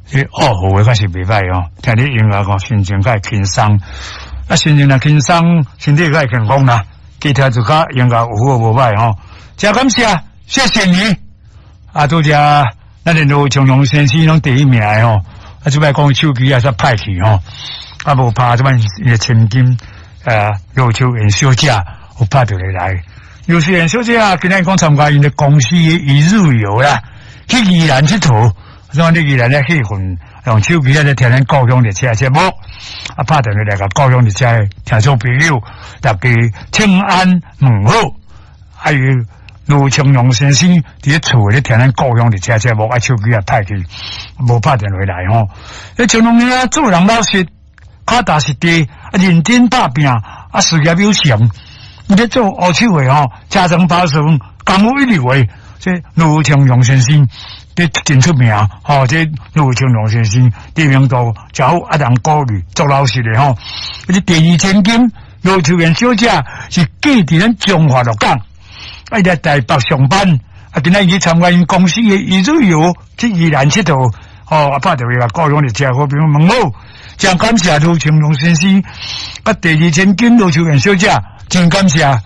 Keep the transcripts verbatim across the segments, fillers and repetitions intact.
這惡好的確是袂歹哦，聽你音樂哦，心情較會輕鬆。啊，心情若輕鬆，身體較會健康啦。其他就較音樂有好無歹吼。真感謝，謝謝你。啊，拄才咱的盧松龍先生攏第一名的吼。啊，這擺講手機也煞歹去吼。啊，無拍這擺伊千金，呃，盧秋燕小姐有拍電話來。盧秋燕小姐啊，今日講參加𪜶的公司的一日遊啦，去宜蘭𨑨迌。所以你宜蘭咧氣氛，用手機咧聽咱故鄉列車節目，啊，拍電話來共故鄉列車的聽眾朋友，大家請安問好，還有盧清龍先生佇咧厝咧聽咱故鄉列車節目，啊，手機也歹去，無拍電話來吼。彼清龍兄做人老實，腳踏實地，啊，認真拍拚，啊，事業有成。伊咧做烏手的吼，車床刨床，功夫一流的，這盧清龍先生。這真出名，吼！這盧清龍先生知名度真好，啊，人鼓勵做老實的吼。這第二千金盧秋燕小姐是嫁佇咱彰化鹿港，啊，伊來台北上班，啊，今仔日去參加𪜶公司的一日遊去宜蘭𨑨迌，吼，啊，拍電話來故鄉列車好朋友問好，真感謝盧清龍先生，啊，第二千金盧秋燕小姐，真感謝，啊，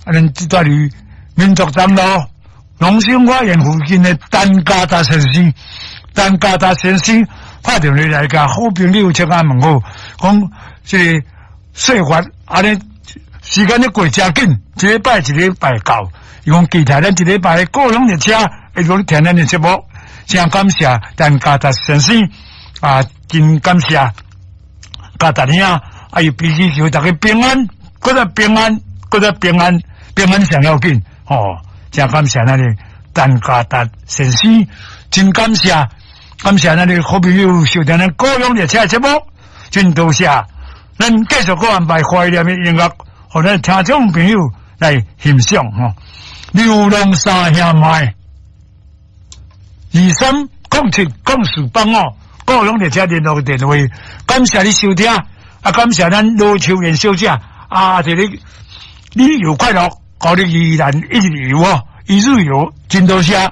咱這蹛佇民族東路。龍興花園附近的陳家達先生，陳家達先生拍電話來共好朋友請安問好，講這個歲月按呢時間咧過誠緊，一禮拜一禮拜到。伊講期待咱一禮拜故鄉列車會閣聽咱的節目，真感謝陳家達先生啊，真感謝家達兄，啊伊必須求大家平安，閣再平安，閣再平安，平安上要緊，吼。真感謝咱的陳家達先生，真感謝，感謝咱的好朋友收聽咱故鄉列車的節目，真多謝。咱繼續閣安排懷念的音樂，予咱聽眾朋友來欣賞吼。流浪三兄妹，二三空七空四八五，故鄉列車聯絡電話，感謝你收聽，啊，感謝咱盧秋燕小姐，啊，這個旅遊快樂。予你宜蘭一日遊哦，一日遊真多謝。